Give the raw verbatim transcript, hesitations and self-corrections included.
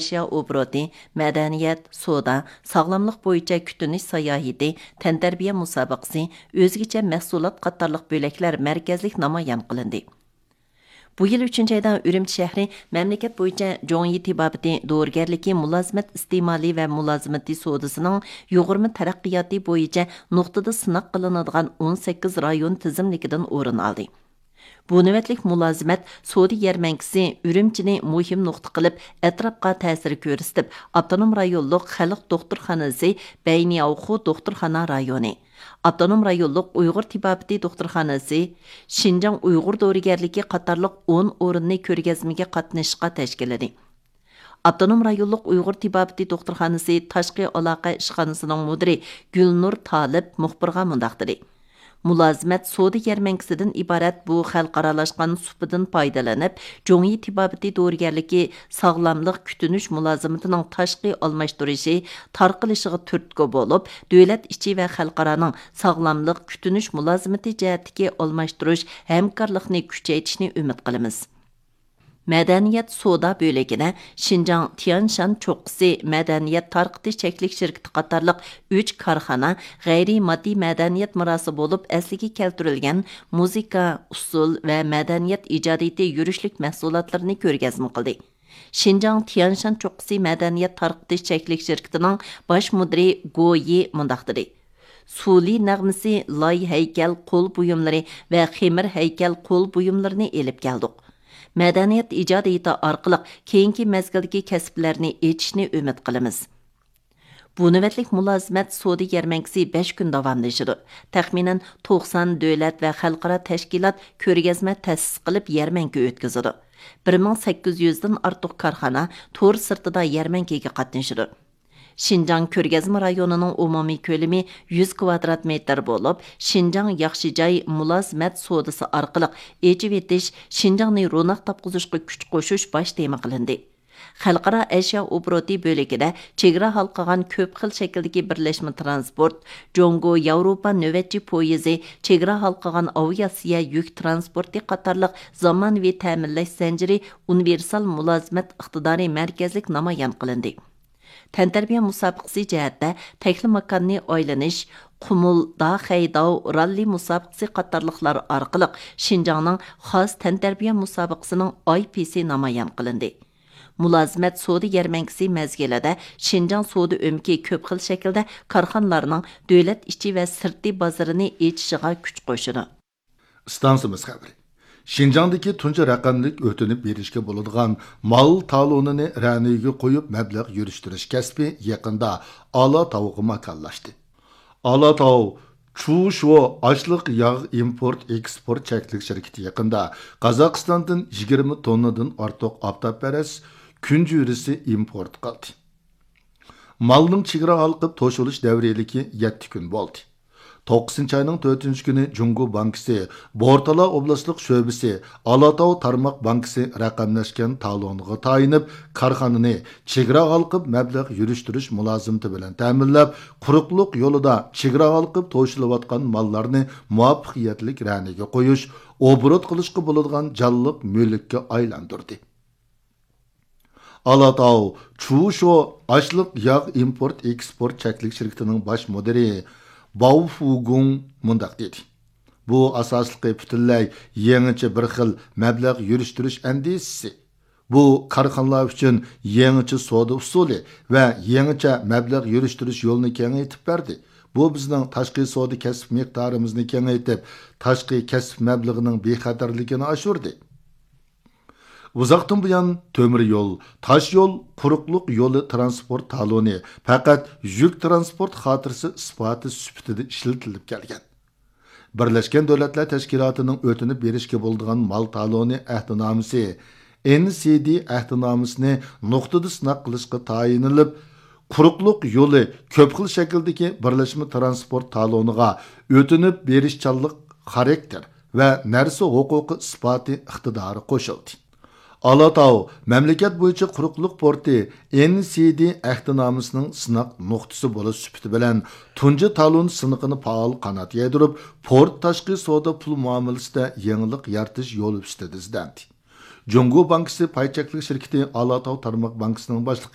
ئەشيا ئوبوروتى، مەدەنىيەت، سودا، ساغلاملىق بويىچە كۈتۈنۈش ساياھىتى، تەنتەربىيە مۇسابىقىسى، ئۆزگىچە مەھسۇلات قاتارلىق بۆلەكلەر مەركەزلىك نامايان قىلىندى. بۇ يىل ئۈچىنچى ئايدا ئۈرۈمچى شەھىرى مەملىكەت بويىچە جوڭيى تېبابىتى دورىگەرلىكى مۇلازىمەت ئىستېمالى ۋە مۇلازىمىتى سودىسىنىڭ يۇغۇرما تەرەققىياتى بويىچە نۇقتىدا سىناق قىلىنىدىغان ئون سەككىز رايون تىزىملىكىدىن ئورۇن ئالدى. بۇ نۆۋەتلىك مۇلازىمەت سودا يەرمەنكىسى ئۈرۈمچىنى مۇھىم نۇقتا قىلىپ، ئەتراپقا تەسىر كۆرسىتىپ، ئاپتونوم رايونلۇق خەلق دوختۇرخانىسى بەينياۋخۇ دوختۇرخانا رايونى، ئاپتونوم رايونلۇق ئۇيغۇر تېبابىتى دوختۇرخانىسى، شىنجاڭ ئۇيغۇر دورىگەرلىكى قاتارلىق ئون ئورۇننى كۆرگەزمىگە قاتنىشىشقا تەشكىللىدى. ئاپتونوم رايونلۇق ئۇيغۇر تېبابىتى دوختۇرخانىسى تاشقى ئالاقە ئىشخانىسىنىڭ مۇدىرى گۈلنۇر تالىپ مۇخبىرغا مۇنداق دېدى: مۇلازىمەت سودا يەرمەنكىسىدىن ئىبارەت بۇ خەلقئارالاشقان سۇپىدىن پايدىلىنىپ، جوڭيى تېبابىتى دورىگەرلىكى ساغلاملىق كۈتۈنۈش مۇلازىمىتىنىڭ تاشقى ئالماشتۇرۇشى تارقىلىشىغا تۈرتكە بولۇپ، دۆلەت ئىچى ۋە خەلقئارانىڭ ساغلاملىق كۈتۈنۈش مۇلازىمىتى جەھەتتىكى ئالماشتۇرۇش ھەمكارلىقنى كۈچەيتىشنى ئۈمىد قىلىمىز. مەدەنىيەت سودا بۆلىكىدە شىنجاڭ تيەنشان چوققىسى مەدەنىيەت تارقىتىش چەكلىك شىركىتى قاتارلىق ئۈچ كارخانا غەيرىي ماددىي مەدەنىيەت مىراسى بولۇپ ئەسلىگە كەلتۈرۈلگەن مۇزىكا، ئۇسسۇل ۋە مەدەنىيەت ئىجادىيىتى يۈرۈشلۈك مەھسۇلاتلىرىنى كۆرگەزمە قىلدى. شىنجاڭ تيەنشان چوققىسى مەدەنىيەت تارقىتىش چەكلىك شىركىتىنىڭ باش مۇدىرى گو يى مۇنداق دېدى: سۇلى نەغمىسى لاي ھەيكەل قول بۇيۇملىرى ۋە خېمىر ھەيكەل قول بۇيۇملىرىنى ئېلىپ كەلدۇق. مەدەنىيەت ئىجادىيىتى ئارقىلىق كېيىنكى مەزگىلدىكى كەسىپلەرنى ئېچىشنى ئۈمىد قىلىمىز. بۇ نۆۋەتلىك مۇلازىمەت سودا يەرمەنكىسى بەش كۈن داۋاملىشىدۇ. تەخمىنەن توقسان دۆلەت ۋە خەلقئارا تەشكىلات كۆرگەزمە تەسىس قىلىپ يەرمەنكە ئۆتكۈزىدۇ. بىر مىڭ سەككىز يۈزدىن ئارتۇق كارخانا تور سىرتىدا يەرمەنكىگە قاتنىشىدۇ. شىنجاڭ كۆرگەزمە رايونىنىڭ ئومۇمىي كۆلىمى يۈز كۋادرات مېتىر بولۇپ، شىنجاڭ ياخشى جاي مۇلازىمەت سودىسى ئارقىلىق ئېچىۋېتىش، شىنجاڭنى روناق تاپقۇزۇشقا كۈچ قوشۇش باش تېما قىلىندى. خەلقئارا ئەشيا ئوبوروتى بۆلىكىدە چېگرا ھالقىغان كۆپ خىل شەكىلدىكى بىرلەشمە ترانسپورت، جۇڭگو ياۋروپا نۆۋەتچى پويىزى، چېگرا ھالقىغان ئاۋىئاتسىيە يۈك ترانسپورتى قاتارلىق زامانىۋى تەمىنلەش زەنجىرى ئۇنىۋېرسال مۇلازىمەت ئىقتىدارى مەركەزلىك نامايان قىلىندى. تەنتەربىيە مۇسابىقىسى جەھەتتە تەكلىماكاننى ئايلىنىش، قۇمۇل، داخەيداۋ، راللى مۇسابىقىسى قاتارلىقلار ئارقىلىق شىنجاڭنىڭ خاس تەنتەربىيە مۇسابىقىسىنىڭ ئاي پىسى نامايان قىلىندى. مۇلازىمەت سودا يەرمەنكىسى مەزگىلىدە شىنجاڭ سودا ئۆمىكى كۆپ خىل شەكىلدە كارخانىلارنىڭ دۆلەت ئىچى ۋە سىرتى بازىرىنى ئېچىشىغا كۈچ قوشىدۇ. ئىستانسىمىز خەۋىرى. شىنجاڭدىكى تۇنجى رەقەملىك ئۆتۈنۈپ بېرىشكە بولىدىغان مال تالونىنى رەنىگە قويۇپ مەبلەغ يۈرۈشتۈرۈش كەسپى يېقىندا ئالاتاۋغا ماكانلاشتى. ئالاتاۋ چۇشۇ ئاشلىق ياغ ئىمپورت ئېكسپورت چەكلىك شىركىتى يېقىندا قازاقىستاندىن يىگىرمە توننىدىن ئارتۇق ئاپتاپپەرەس كۈنجۈرىسى ئىمپورت قىلدى. مالنىڭ چېگرا ھالقىپ توشۇلۇش دەۋرىيلىكى يەتتە كۈن بولدى. توققۇزىنچى ئاينىڭ تۆتىنچى كۈنى جۇڭگو بانكىسى بورتالا ئوبلاستلىق شۆبىسى ئالاتاۋ تارماق بانكىسى رەقەملەشكەن تالونىغا تايىنىپ، كارخانىنى چېگرا ھالقىپ مەبلەغ يۈرۈشتۈرۈش مۇلازىمىتى بىلەن تەمىنلەپ، قۇرۇقلۇق يولىدا چېگرا ھالقىپ توشۇلۇۋاتقان ماللارنى مۇۋەپپەقىيەتلىك رەنىگە قويۇش، ئوبوروت قىلىشقا بولىدىغان جانلىق مۈلۈككە ئايلاندۇردى. ئالاتاۋ چۇشۇ ئاشلىق ياغ ئىمپورت ئېكسپورت چەكلىك شىركىتىنىڭ باش مۇدىرى باۋ فۇگۇڭ مۇنداق دېدى: بۇ ئاساسلىقى پۈتۈنلەي يېڭىچە بىر خىل مەبلەغ يۈرۈشتۈرۈش ئەندىزىسى. بۇ كارخانىلار ئۈچۈن يېڭىچە سودا ئۇسۇلى ۋە يېڭىچە مەبلەغ يۈرۈشتۈرۈش يولىنى كېڭەيتىپ بەردى. بۇ بىزنىڭ تاشقى سودا كەسىپ مىقدارىمىزنى كېڭەيتىپ، تاشقى كەسىپ مەبلىغىنىڭ بىخەتەرلىكىنى ئاشۇردى. ئۇزاقتىن بۇيان تۆمۈر يول، تاش يول، قۇرۇقلۇق يولى ترانسپورت تالونى پەقەت يۈك ترانسپورت خاتىرىسى ئىسپاتى سۈپىتىدە ئىشلىتىلىپ كەلگەن. بىرلەشكەن دۆلەتلەر تەشكىلاتىنىڭ ئۆتۈنۈپ بېرىشكە بولىدىغان مال تالونى ئەھدىنامىسى، ئېن سى دى ئەھدىنامىسىنى نۇقتىدا سىناق قىلىشقا تايىنىلىپ، قۇرۇقلۇق يولى كۆپ خىل شەكىلدىكى بىرلەشمە ترانسپورت تالونىغا ئۆتۈنۈپ بېرىشچانلىق خاراكتېر ۋە نەرسە ھوقۇقى ئىسپاتى ئىقتىدارى قوشۇلدى. ئالاتاۋ مەملىكەت بويىچە قۇرۇقلۇق پورتى ئېن سى دى ئەھدىنامىسىنىڭ سىناق نۇقتىسى بولۇش سۈپىتى بىلەن تۇنجى تالون سىنىقىنى پائال قانات يايدۇرۇپ، پورت تاشقى سودا پۇل مۇئامىلىسىدە يېڭىلىق يارىتىش يولى ئۈستىدە ئىزدەندى. جۇڭگو بانكىسى پاي چەكلىك شىركىتى ئالاتاۋ تارماق بانكىسىنىڭ باشلىقى